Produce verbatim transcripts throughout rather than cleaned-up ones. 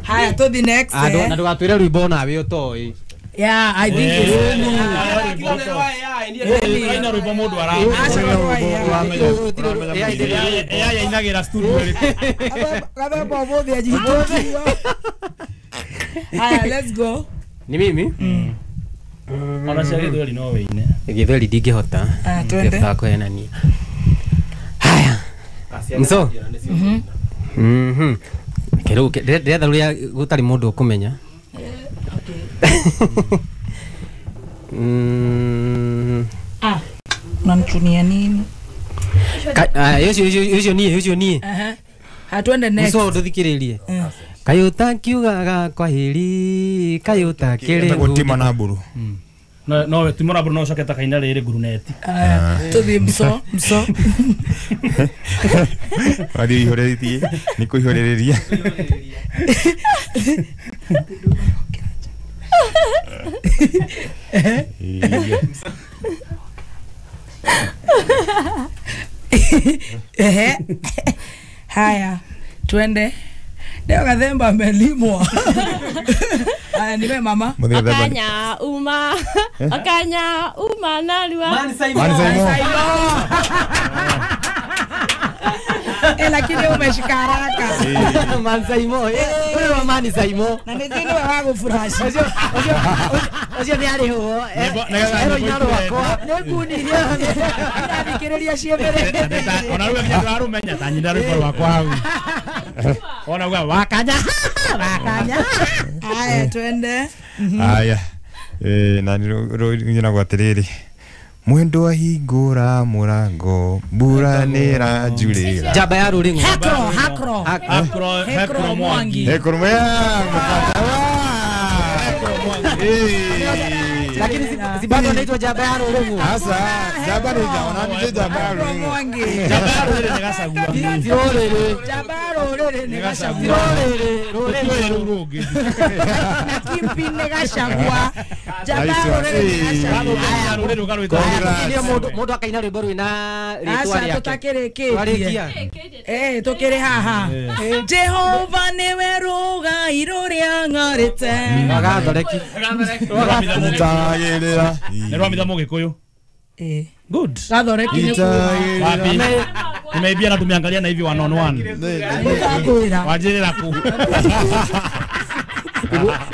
Haya to the next. Ando na ndũgatwĩre rwĩmbo nawe ũtoĩ. Yeah, I think it's ina rwĩmbo mũndũ ara. Ya inagira studio. Gathemba ũmũthĩ anjihĩtũkiwa. Haya, let's go. Ni mimi? Ona cia gĩthweri no wĩine. Gĩthweri ndingĩhota. Ndingĩhota kũhenania. Haya. Mso. Mhm. Mhm. Kero ndĩretha rũrĩa gũtarĩ mũndũ ũkũmenya. Mm. Ah, unanichunia nini? Ah, yocio yocio nie yocio nie. Aha. Hatuende next. Muso nduthikiririe. Kayo takiugaga kwa heri, kayo takire. Tima na mburu. No no timo na mburu no coke ta kaina riri nguruneti. Ah, tuthi mso mso. Wadi ihoreritie, ni kuihorereria. Ehe. Haya, twende. Leo Gathemba amelimwa. Haya niwe mama. Okanya uma. Okanya uma nalua. Man Saimo. Eh, lakini umeshika haraka. Man Saimo. Eh, wewe Man Saimo. Na nĩ niwe wa gũfurashi. Ocio ocio ocio nĩ arĩ ho. Ero inaro wakwa. Nĩ ngunirie. Ndathikĩrĩria ciĩ mbere. Ona rĩu nĩ ararũmenya ta nyina rwĩmbo rwakwa hau. Ona uga wakanya. Wakanya. Haya twende. Haya. Eh, na nĩ rũnyina atĩrĩrĩ. Mwendo ahingũra mũrango mbura nĩĩranjurĩra. Njamba ya rũrĩng'o. Hekro, hakro. Hakro, Hekro Mwangi. Hekro Mwangi. Lakini si bado anaitwa njamba ya rũrĩng'o. Sasa njamba ni ona ni njamba ya rũrĩng'o. Njamba ya rũrĩrĩ nĩ Gachagua. Ti rũrĩrĩ. Njamba ya rũrĩrĩ nĩ Gachagua. Rũrĩrĩ, rũrĩrĩ rũu rũngĩ. Na Kimpi nĩ Gachagua. Njamba ya rũrĩrĩ nĩ Gachagua. Rũrĩrĩ rũgarwĩtwo. Nĩ mũndũ mũndũ akaina rwĩmbo rwĩna rĩtwa Aca rĩake. tũtakĩrĩkĩtie. Twarĩkia. Eh, tũkĩrĩ haha. Jehova nĩwe rũgai rũrĩa ng'arĩte. Wagathoreki. Itagĩrĩra. Nĩ rwamitha Mũgĩkũyũ. Eh. Good. Gathoreki nĩ kuga. Wapi? Nimeibia na tumeangalia na hivi one on one. Nĩngũkwĩra. Wanjĩrĩra kũ?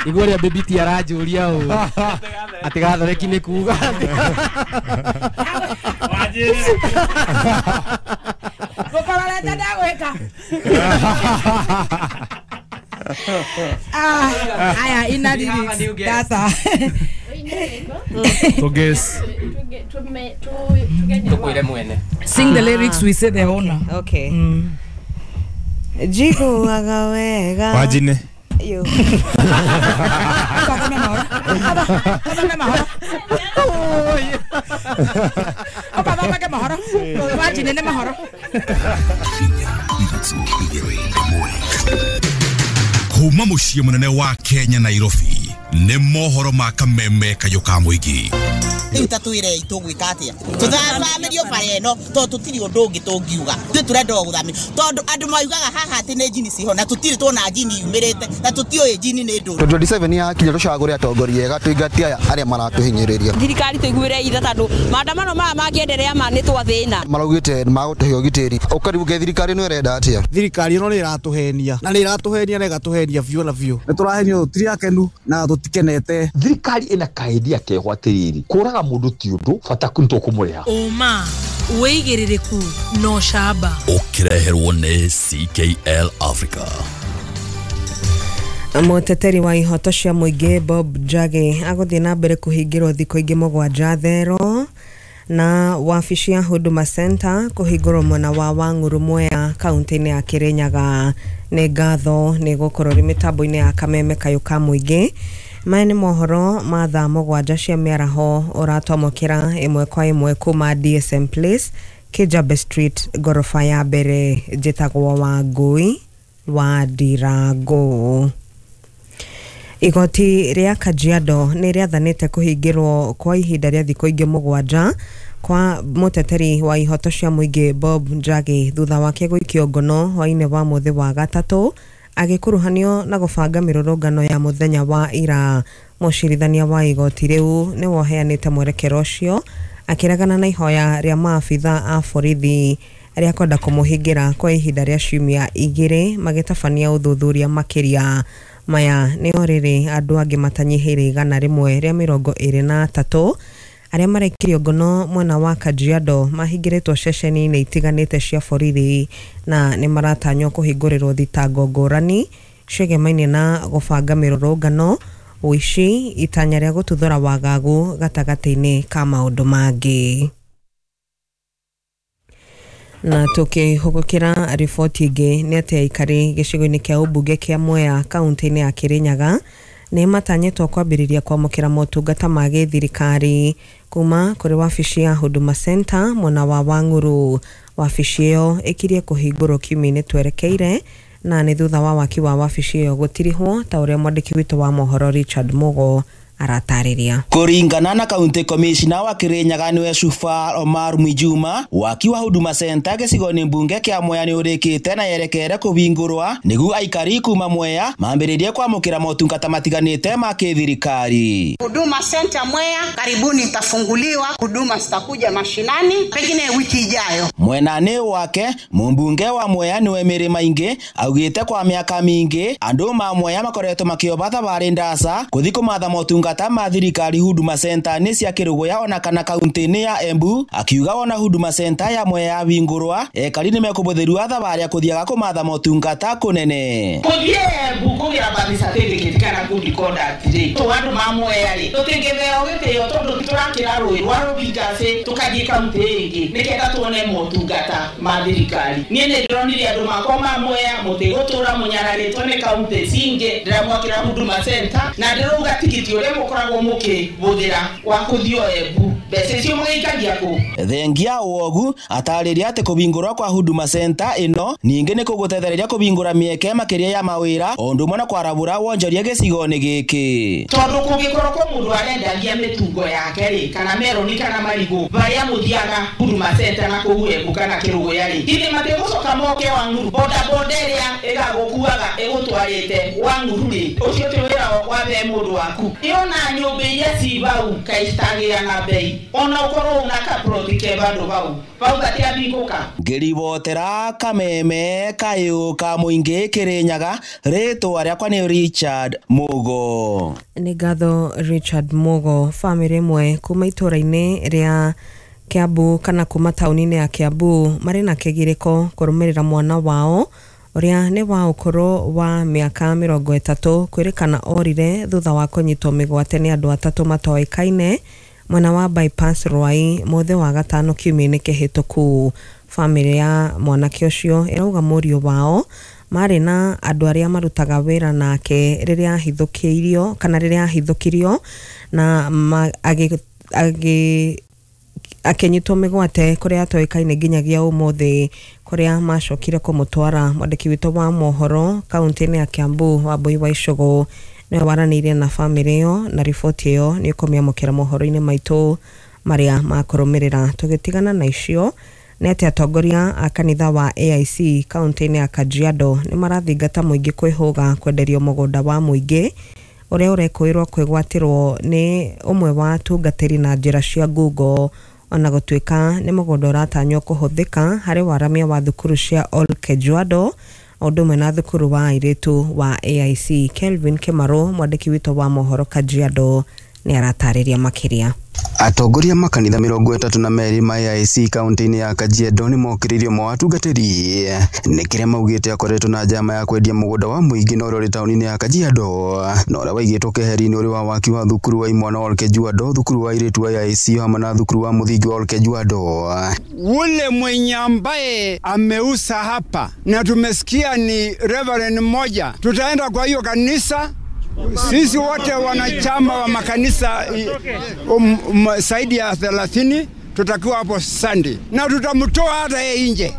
Igua rĩa baby ti aranjũria ũũ. Atĩ gathoreki nĩ kuga. Wanjĩrĩra. Gũkororete ndagwĩka. Ah, haya ina lyrics. Data. Tuguess. Tukwĩre mwene. Sing the lyrics, we say the owner. Okay. Mm. Njiguaga wega. Wajine. Yo. Kathome mahoro. Kathome mahoro. Ũkathomeke mahoro. Wajine nĩ mahoro. Kuma mũciĩ mũnene wa Kenya Nairobi nĩ mohoro ma kameme kayũ ka mũingĩ. Rĩu ta twĩre tũgwĩka atĩa tũthathamĩrio bara ĩno tondũ tũtirĩ ũndũ ũngĩ tũngiuga ithuĩ tũrenda o gũthamĩrio tondũ andũ maugaga haha atĩ nĩ njini ciho na tũtirĩ tuona njini yumĩrĩte na tũtiũĩ njini nĩ ndũrũ. twenty twenty-seven yakinya tũcagũre atongoria ega tũingatie aya arĩa maratũhinyĩrĩria. Thirikari tũiguĩre itha tondũ maandamano maya mangĩenderea ma nĩ twathĩna. Maraugĩte magũtũhe ũgitĩri ũkariuge thirikari ĩno ĩrenda atĩa. Thirikari ĩno nĩ ĩratũhenia na nĩ ĩratũhenia na ĩgatũhenia biũ na biũ. Nĩ tũrahenio tũtirĩ akenu na tũtikenete. Thirikari ĩna kaendia keho atĩrĩrĩ kũraga mũndũ ti ũndũ bata nĩ tũkũmũrĩha. Ũma wĩigĩrĩrĩku no camba. Ũkĩreherwo nĩ C K L Africa. Mũteteri wa ihoto cia mũingĩ Bob Njagi agũthiĩ na mbere kũhingĩrwo thikũ ingĩ mũgwanja thero na wabici ya Huduma Center kũhingũrwo mwena wa Wang'ũrũ Mwea kaunti-inĩ ya Kirinyaga. Nĩ ngatho nĩ gũkorwo rĩ mĩtambo-inĩ ya kameme kayũ ka mũingĩ. Maya nĩ mohoro ma thaa mũgwanja cia mĩaraho ũratwamũkĩra ĩmwe kwa ĩmwe kuma D S M Place, Kijabe Street, gorofa ya mbere. Njĩtagwo Wangũi wa Ndirango. Igoti rĩa Kajiado nĩ rĩathanĩte kũhingĩrwo kwa ihinda rĩa thikũ ingĩ mũgwanja Kwa muteteri wa ihoto cia mũingĩ Bob Njagi thutha wake gũikio ngono hwainĩ wa mũthĩ wa gatatũ agĩkuruhanio na gũbanga mĩrũrũngano ya mũthenya wa ira. Mũcirithania wa igoti rĩu nĩ woheanĩte mwerekero ũcio akĩregana na ihoya rĩa maabitha a borithi arĩa kwenda kũmũhingĩra kwa ihinda rĩa ciumia igĩrĩ magĩtabania ũthuthuria makĩria. Maya nĩ o rĩrĩ andũ angĩ matanyihĩire igana rĩmwe rĩa mĩrongo ĩrĩ na atatũ arĩa marekirio ngono mwena wa Kajiado mahingĩrĩtwo ceceni-inĩ itiganĩte cia borithi na nĩ maratanywo kũhingũrĩrwo thitango ngũrani ciĩgemainie na gũbanga mĩrũrũngano, ũici, itanya rĩa gũtuthũra wagagu gatagatĩ-inĩ ka maũndũ mangĩ. Na tukihũgũkĩra riboti ĩngĩ nĩ atĩ aikari gĩcigo-inĩ kĩa ũmbunge kĩa Mwea kaunti-inĩ ya Kirinyaga nĩ matanyĩtwo kwambĩrĩria kwamũkĩra motungata ma gĩthirikari kuma kũrĩ wabici ya Huduma Center mwena wa Wang'uru. Wabici ĩyo ĩkirie kũhingũrwo kiumia-inĩ twerekeire na nĩ thutha wa waki wa wabici ĩyo gũtirihwo ta ũrĩa mwandĩki witũ wa mohoro Richard Mugo aratarĩria. Kuringana na County Commissioner wa Kirinyaga niwe Shufaa Omar Mwijuma, waki wa Huduma Center gĩcigo-inĩ mbunge kĩa Mwea nĩ ũrĩkĩte na yerekere kũhingũrwa nĩguo aikari kuma Mwea mambĩrĩrie kwamũkĩra motungata matiganĩte ma kĩthirikari. Huduma Center Mwea karibuni itafunguliwa, huduma zitakuja mashinani pengine wiki ijayo. Mwenani wake mumbunge wa Mwea niwe Mary Maingi augĩte kwa mĩaka mĩingĩ andũ ma Mwea makoretwo makĩoba thabarĩ ndaca gũthiĩ kũmatha motungata ma thirikari Huduma Center nĩ cia Kĩrũgũya ona kana kaunti-inĩ ya Embu. Akiuga wona Huduma Center ya Mwea yahingũrwa ekari nĩ mekũbũthĩrwa thabarĩ ya kũthiaga kũmatha motungata kũnene. Kũthiĩ Embu kũgĩra birth certificate kana good conduct rĩ, tũ andũ ma Mwea rĩ tũtingĩtheo gĩtĩo tondũ tũrakĩra rũĩ rwa Rũbingacĩ tũkathiĩ kaunti ĩngĩ nĩgetha tuone motungata ma thirikari. Niĩ nĩ ndĩronire andũ makwa ma Mwea mũtigũtũra mũnyararĩtwo nĩ kaunti cingĩ, ndĩramwakĩra Huduma Center na ndĩrauga tigiti ũrĩa mũkoragwo mũkĩbũthĩra wa kũthiĩ Embu mbeca icio mũgĩikagia kũ. Thengia wogu atarĩria atĩ kũhingũrwa kwa Huduma Center ĩno ningĩ nĩ kũgũtethereria kũhingũra mĩeke makĩria ya mawĩra o ũndũ ũmwe na kwarabũra wonjoria gĩcigo-inĩ gĩkĩ. Tondũ kũngĩkorwo kwĩ mũndũ arendagia mĩtungo yake rĩ kana meroni kana marigũ barĩa mũthiaga Huduma Center na kũu Embu kana Kĩrũgũya rĩ githĩ matigũcoka moke Wang'uru boda boda ĩrĩa ĩgagũkuaga ĩgũtwarĩte Wang'uru rĩ ũcio ti wĩra wa the mũndũ waku. Ĩona nyũmba iria ci bau kaĩ citagĩa na bei ona ũkorwo una kaproti ke bandũ bau bau gatiambingũka. Ngĩribotera Kameme kayũ ka mũingĩ Kĩrĩnyaga, rĩtwa rĩakwa nĩ Richard Mugo. Nĩ ngatho Richard Mugo. Bamĩrĩ ĩmwe kuma itũra-inĩ rĩa Kiambu kana kuma taũni-inĩ ya Kiambu marĩ na kĩgirĩko kũrũmĩrĩra mwana wao ũrĩa nĩ wa ũkũrũ wa mĩaka mĩrongo ĩtatũ kwĩrĩkana orire thutha wa kũnyitwo mĩgwate nĩ andũ atatũ matoĩkaine mwena wa bypass Ruai mũthĩ wa gatano kiumia-inĩ kĩhĩtũku. Bamĩrĩ ya mwanake ũcio ĩrauga mũriũ wao marĩ na andũ arĩa marutaga wĩra nake rĩrĩa ahithũkĩirio kana rĩrĩa ahithũkirio na agĩ agĩ akĩnyitwo mĩgwate kũrĩa atoĩkaine nginyagia ũmũthĩ kũrĩa macokire kũmũtwara. Mwandĩki witũ wa mohoro kaunti-inĩ ya Kiambu Wambui wa Icũgũ nĩwe waranĩirie na bamĩrĩ ĩyo na riboti ĩyo nĩ ũkũmĩamũkĩra mohoro-inĩ maitũ marĩa makũrũmĩrĩra. Tũgĩtigana na icio nĩ atĩ atongoria a kanitha wa A I C kaunti-inĩ ya Kajiado nĩ marathingata mũingĩ kwĩhũga kwenderio mũgũnda wa mũingĩ ũrĩa ũrekũĩrwo kwĩgwatĩrwo nĩ ũmwe wa atungatĩri na njĩra cia ngungo ona gũtuĩka nĩ mũgũnda ũratanywo kũhũthĩka harĩ waramia wa thukuru cia Ol Kejuado o ũndũ ũmwe na thukuru wa airĩtu wa A I C. Kelvin Kimaro mwandĩki witũ wa mohoro Kajiado nĩ aratarĩria makĩria. Atongoria makanitha mĩrongo ĩtatũ na merĩ ma A I C kaunti-inĩ ya Kajiado nĩ mokĩrĩirio mawatungatĩri nĩ kĩrĩa maugĩte akoretwo na njama ya kwendia mũgũnda wa mũingĩ na ũrĩa ũrĩ taũni-inĩ ya Kajiado na ũrĩa waigĩtwo keheri-inĩ ũrĩ wa waki wa thukuru wa imwana wa Ol Kejuado, thukuru wa airĩtu wa A I C hamwe na thukuru wa mũthingi wa Ol Kejuado. Ule mwenye ambaye ameuza hapa na tumesikia ni reverend mmoja, tutaenda kwa hiyo kanisa. Sisi wote wanachama wa makanisa um, um, zaidi ya thelathini tutakuwa hapo Sunday na tutamtoa hata yeye nje.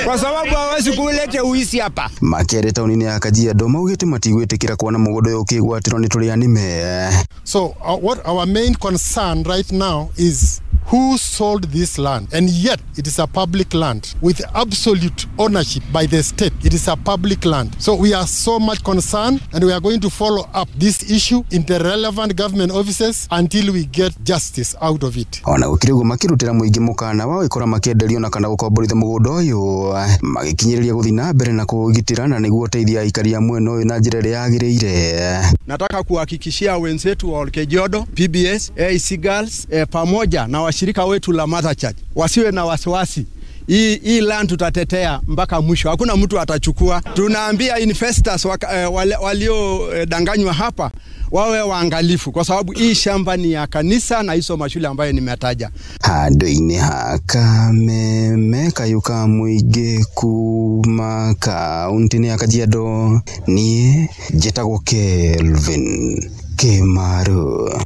kwa sababu hawezi kuleta uisi hapa. Makere tauni-inĩ ya Kajiado maugĩte matigwĩtĩkĩra kuona mũgũnda ũyũ ũkĩgwatĩrwo nĩ tũrĩa nĩme. So uh, what our main concern right now is who sold this land, and yet it is a public land with absolute ownership by the state. It is a public land. So we are so much concerned, and we are going to follow up this issue in the relevant government offices until we get justice out of it. Ona gũkĩrĩ ũguo makĩrutĩra mũingĩ mũkana wa gũikora makĩenderio na kana gũkomborithia mũgũnda ũyũ magĩkinyĩrĩria gũthiĩ na mbere na kũũgitĩra na nĩguo ũteithia aikari a mwena ũyũ na njĩra ĩrĩa yagĩrĩire. Nataka kuhakikishia wenzetu wa Olkejiado, P B S, A I C Girls eh, pamoja na washirika wetu la Mother Church wasiwe na wasiwasi. Hii, hii land tutatetea mpaka mwisho. Hakuna mtu atachukua. Tunaambia investors eh, walio eh, danganywa hapa wawe waangalifu, kwa sababu hii shamba ni ya kanisa na hizo mashule ambayo nimetaja. Handũ-inĩ ha Kameme kayũ ka mũingĩ kuma kaunti-inĩ ya Kajiado, niĩ njĩtagwo Kelvin Kimaru.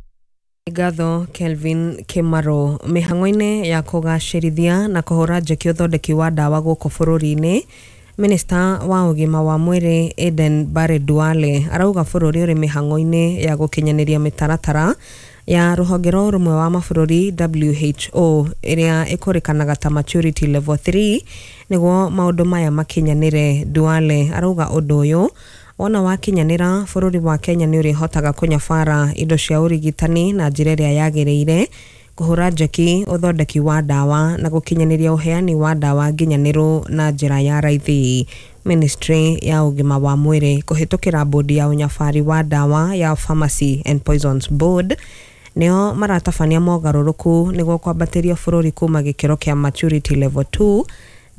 Ngatho Kelvin Kimaro. Mĩhang'o-inĩ ya kũgacĩrithia na kũhũra njeki ũthondeki wa ndawa gũkũ bũrũri-inĩ, Minista wa ũgima wa mwĩrĩ Aden Barre Duale arauga bũrũri ũrĩ mĩhang'o-inĩ ya gũkinyanĩria mĩtaratara ya rũhonge rwa ũrũmwe wa mabũrũri W H O ĩrĩa ĩkũrĩkanaga ta maturity level three nĩguo maũndũ maya makinyanĩre. Duale arauga ũndũ ũyũ wona wakinyanĩra bũrũri wa Kenya nĩ ũrĩhotaga kũnyabara indo cia ũrigitani na njĩra ĩrĩa yagĩrĩire, kũhũra njeki ũthondeki wa ndawa na gũkinyanĩria ũheani wa ndawa nginyanĩru na njĩra ya raithi. Ministry ya ũgima wa mwĩrĩ kũhĩtũkĩra bodi ya ũnyabari wa ndawa ya Pharmacy and Poisons Board nĩo maratabania mogarũrũku nĩguo kwambatĩria bũrũri kuma gĩkĩro kĩa maturity level two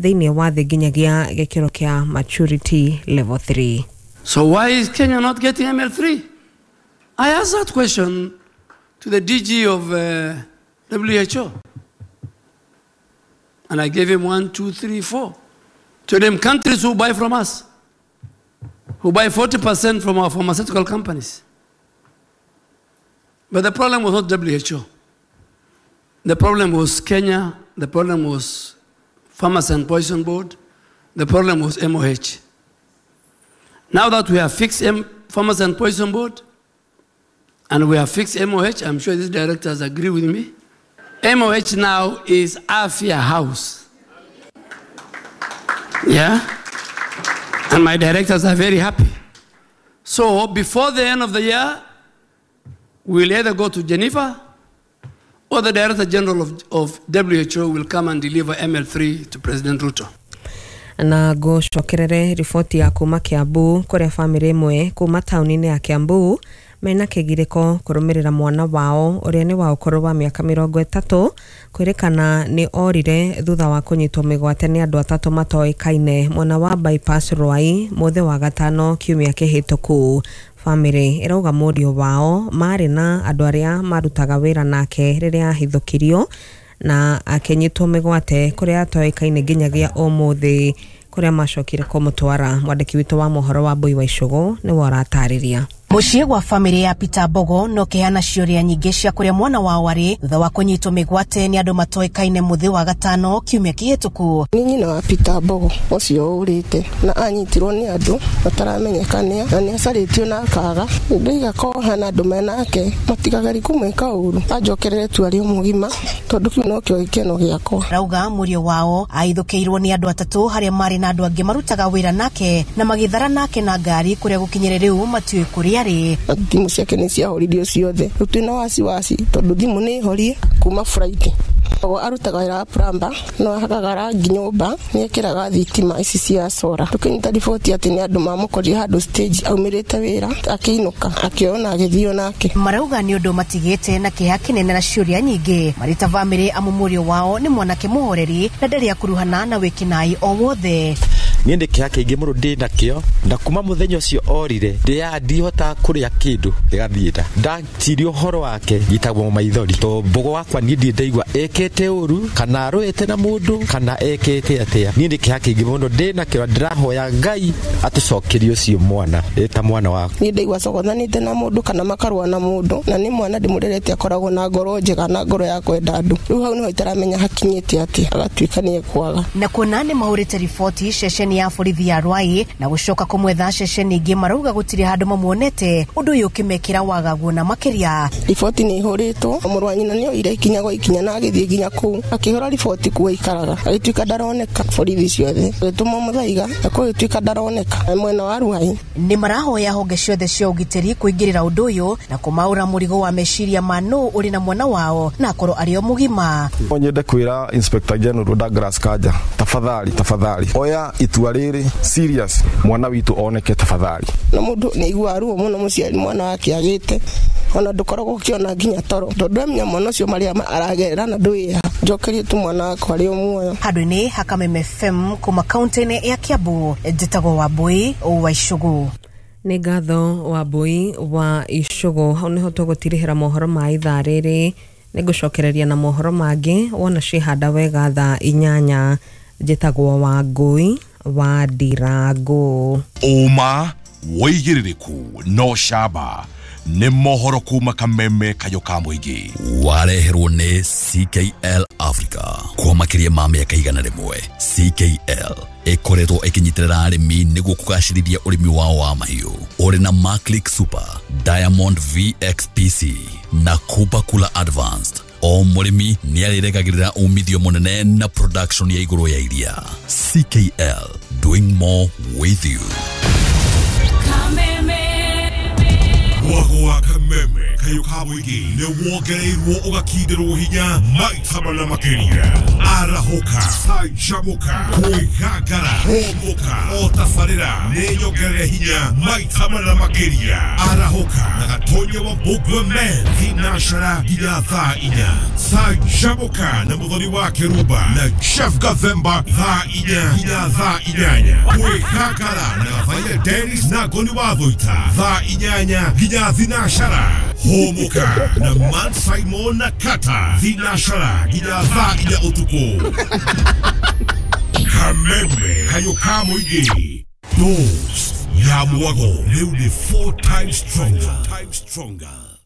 thĩinĩ wa thĩ nginyagia gĩkĩro kĩa maturity level three. So why is Kenya not getting M L three? I asked that question to the D G of uh, W H O. And I gave him one, two, three, four. To them countries who buy from us, who buy forty percent from our pharmaceutical companies. But the problem was not W H O. The problem was Kenya, the problem was Pharmacy and Poison Board, the problem was M O H. Now that we have fixed M Pharmacy and Poison Board, and we have fixed M O H, I'm sure these directors agree with me. M O H now is Afia House. Yeah? And my directors are very happy. So before the end of the year, we'll either go to Geneva or the Director General of, of W H O will come and deliver M L three to President Ruto. Na gũcokerere riboti ya kuma Kiambu kũrĩa bamĩrĩ ĩmwe kuma taũni-inĩ ya Kiambu mena kĩgirĩko kũrũmĩrĩra mwana wao ũrĩa nĩ wa ũkũrũ wa mĩaka mĩrongo ĩtatũ kwĩrĩkana nĩ orire thutha wa kũnyitwo mĩgwate nĩ andũ atatũ matoĩkaine mwena wa bypass Ruai mũthĩ wa gatano kiumia kĩhĩtũku. Bamĩrĩ ĩrauga mũriũ wao marĩ na andũ arĩa marutaga wĩra nake rĩrĩa ahithũkirio na akĩnyitwo mĩgwate kũrĩa atoĩkaine nginyagia ũmũthĩ kũrĩa macokire kũmũtwara. Mwandĩki witũ wa mohoro wa Mbui wa Icũgũ nĩwe ũratarĩria. Mũciĩ gwa bamĩrĩ ya Peter Mbogo no kĩheana ciũria nyingĩ cia kũrĩa mwana wao arĩ thutha wa kũnyitwo mĩgwate nĩ andũ matoĩkaine mũthĩ wa gatano kiumia kĩhĩtũku. Nĩ nyina wa Peter Mbogo ũcio ũrĩte na anyitirwo nĩ andũ mataramenyeka nĩa na nĩ acarĩtio na akaga. Ndoiga koha na andũ menake matigageri kũmwĩka ũru anjokerere tu arĩ mũgima tondũ kĩu nokĩo gĩkeno gĩakwa. Rauga mũriũ wao aithũkĩirwo nĩ andũ atatũ harĩa marĩ na andũ angĩ marutaga wĩra nake na magĩthara nake na ngari kũrĩa gũkinyĩre rĩu matiũĩ kũrĩa Thimũ ciake nĩ ciahoririo ciothe. Rĩu twĩna wasiwasi tondũ thimũ nĩ horie kuma Friday. Ogo arutaga wĩra wa plumber, no ahakaga rangi nyũmba, nĩ ekĩraga thitima ici cia solar. Tũkĩnyita riboti atĩ nĩ andũ mamũkorire handũ stage aumĩrĩte wĩra akĩinũka akĩona na agĩthiĩ nake. Marauga nĩ ũndũ matigĩte na kĩeha kĩnene na ciũria nyingĩ marĩ ta bamĩrĩ amu mũriũ wao nĩ mwanake mũhoreri na ndarĩ akuruhana na wĩkinaĩ o wothe. Niĩ nĩ kĩeha kĩingĩ mũno ndĩ nakĩo, na kuma mũthenya ũcio orire ndĩa ndihotaga kũrĩa kĩndũ gĩgathiĩ nda. Ndaciria ũhoro wake ngitagwo maithori, to Mbogo wakwa niĩ ndirĩ ndaigua ekĩte ũru kana arũĩte na mũndũ kana ekĩte atĩa. Niĩ nĩ kĩeha kĩingĩ mũno ndĩ nakĩo, ndĩrahoya Ngai atũcokerie ũcio mwana ta mwana wakwa. Niĩ ndaigua acogothanĩte na mũndũ kana makarũa na mũndũ, na nĩ mwana ndĩmũrerete akoragwo na ngoro njega na ngoro ya kwenda andũ. Rĩu hau nĩho itaramenya hakinyĩte atĩa, agatuĩka nĩ ekwaga. Na kuona nĩ mahũrĩte riboti ceceni ya borithi ya Ruai na gũcoka kũmwetha ceceni ingĩ, marauga gũtirĩ handũ mamuonete, ũndũ ũyũ ũkĩmekĩra wagagu na makĩria. Riboti nĩ ihũrĩtwo, mũrũ wa nyina nĩ oire ikinya gwa ikinya na agĩthiĩ nginya kũu akĩhũra riboti kuo aikaraga, agĩtuĩka ndaroneka borithi ciothe, agĩtũmwo Mũthaiga na kũgĩtuĩka ndaroneka mwena wa Ruai. Nĩ marahoya honge ciothe cia ũgitĩri kũingĩrĩra ũndũ ũyũ na kũmaũra mũrigo wa meciria ma nũ ũrĩ na mwana wao na akorwo arĩ o mũgima. No nyende kwĩra Inspector General Douglas Kanja, tafadhali tafadhali oya itua rĩrĩ serious, mwana witũ oneke tafadhali. Na mũndũ nĩ aiguaga ruo mũno mũciari mwana wake agĩte, ona ndũkoragwo ũkĩona nginya toro, tondũ amenya mwana ũcio marĩa aragerera na ndũĩha. Njokerie tu mwana wakwa arĩ o muoyo. Handũ-inĩ ha Kameme F M kuma kaunti-inĩ ya Kiambu, njĩtagwo Wambui wa Icũgũ. Nĩ ngatho Wambui wa Icũgũ. Hau nĩho tũgũtirihĩra mohoro ma ithaa rĩrĩ. Nĩngũcokereria na mohoro mangĩ wona ciĩhanda wega thaa inyanya. Njĩtagwo Wangui wa Ndirango. Ũma wĩigĩrĩrĩku no camba nĩ mohoro kuma Kameme kayũ ka mũingĩ. Wareherwo nĩ C K L Africa kwa makĩria ma mĩaka igana rĩmwe. C K L ĩkoretwo ĩkĩnyitĩrĩra arĩmi nĩguo kũgacĩrithia ũrĩmi wao wa mahiũ. Ũrĩ na Maclick Super, Diamond V X P C na Kupa Kula Advanced. O mũrĩmi nĩarĩrekagĩrĩra umithio mũnene na production ya igũrũ ya iria. C K L, doing more with you. Mwago wa Kameme kayũ ka mũingĩ nĩ wongereirwo ũgakindĩrwo hinya maita mana makĩria. Arahũka, canjamũka, kwĩgangara, hũmũka, o tabarĩra nĩ nyongerere hinya maita mana makĩria. Arahũka na Gatonya wa Mbũgua Men thinacara nginya thaa inya. Canjamũka na Mũthoni wa Kĩrumba na Jeff Gathemba thaa inya nginya thaa inyanya. Kwĩgangara na Gathaiya Dennis na Ngoni wa Thũita thaa inyanya nginya thinacara. Hũmũka na Man Simon na Kata thinacara nginya thaa inya ũtukũ. Kameme kayũ ka mũingĩ. Dose ya mwago rĩu nĩ four times stronger.